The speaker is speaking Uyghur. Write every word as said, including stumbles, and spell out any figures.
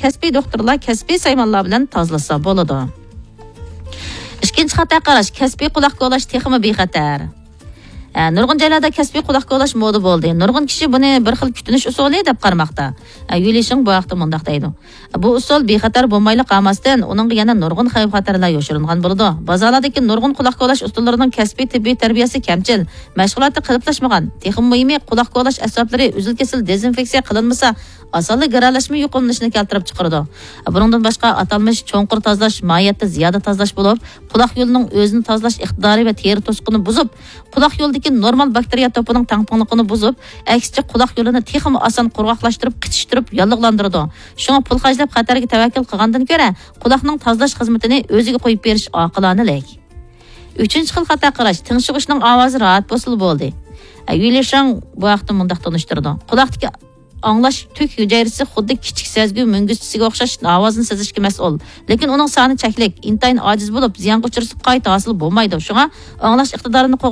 كەسپىي دوختۇرلار كەسپىي سايمانلار بىلەن تازىلىسا بولىدۇ. ئىككىنچى خاتا قاراش، كەسپىي قۇلاق كولاش تېخىمۇ بىخەتەر. ئە، نۇرغۇن جايلاردا كەسپىي قۇلاق كولاش مودا بولدى. نۇرغۇن كىشى بۇنى بىر خىل كۈتۈنۈش ئۇسۇلى دەپ قارىماقتا. ئە، يۈلىشىڭ بۇ ھەقتە مۇنداق دەيدۇ. بۇ ئۇسۇل بىخەتەر بولمايلا قالماستىن، ئۇنىڭغا يەنە نۇرغۇن خەۋپ-خەتەرلەر يوشۇرۇنغان بولىدۇ. بازارلاردىكى نۇرغۇن قۇلاق كولاش ئۇسۇللىرىنىڭ كەسپىي تېببىي تەربىيەسى كەمچىل، مەشغۇلاتى قېلىپلاشمىغان. تېخىمۇ مۇھىمى، قۇلاق كولاش ئەسۋابلىرى ئۈزۈل-كېسىل دېزىنفېكسىيە قىلىنمىسا، ئاسانلا گىرەلەشمە يۇقۇملىنىشىنى كەلتۈرۈپ چىقىرىدۇ. بۇنىڭدىن باشقا، ئاتالمىش چوڭقۇر تازىلاش ماھىيەتتە زىيادە تازىلاش بولۇپ، قۇلاق يولىنىڭ ئۆزىنى تازىلاش ئىقتىدارى ۋە تېرە توسۇقىنى بۇزۇپ، قۇلاق يولىدىكى نورمال باكتېرىيە توپىنىڭ تەڭپۇڭلۇقىنى بۇزۇپ، ئەكسىچە قۇلاق يولىنى تېخىمۇ ئاسان قۇرغاقلاشتۇرۇپ، قىچىشتۇرۇپ، ياللۇغلاندۇرىدۇ. شۇڭا پۇل خەجلەپ خەتەرگە تەۋەككۈل قىلغاندىن كۆرە، قۇلاقنىڭ تازىلاش خىزمىتىنى ئۆزىگە قويۇپ بېرىش ئاقىلانىلىك. ئۈچىنچى خىل خاتا قاراش، تىڭشىغۇچنىڭ ئاۋازى راھەت بولسىلا بولدى. ئە، يۈلىشاڭ بۇ ھەقتە مۇنداق تونۇشتۇرىدۇ. قۇلاقتىكى ئاڭلاش تۈك ھۈجەيرىسى خۇددى كىچىك سەزگۈ مۈڭگۈزچىسىگە ئوخشاش ئاۋازنى سېزىشكە مەسئۇل. لېكىن ئۇنىڭ سانى چەكلىك، ئىنتايىن ئاجىز بولۇپ، زىيانغا ئۇچرىسا قايتا ھاسىل بولمايدۇ. شۇڭا ئاڭلاش ئىقتىدارىنى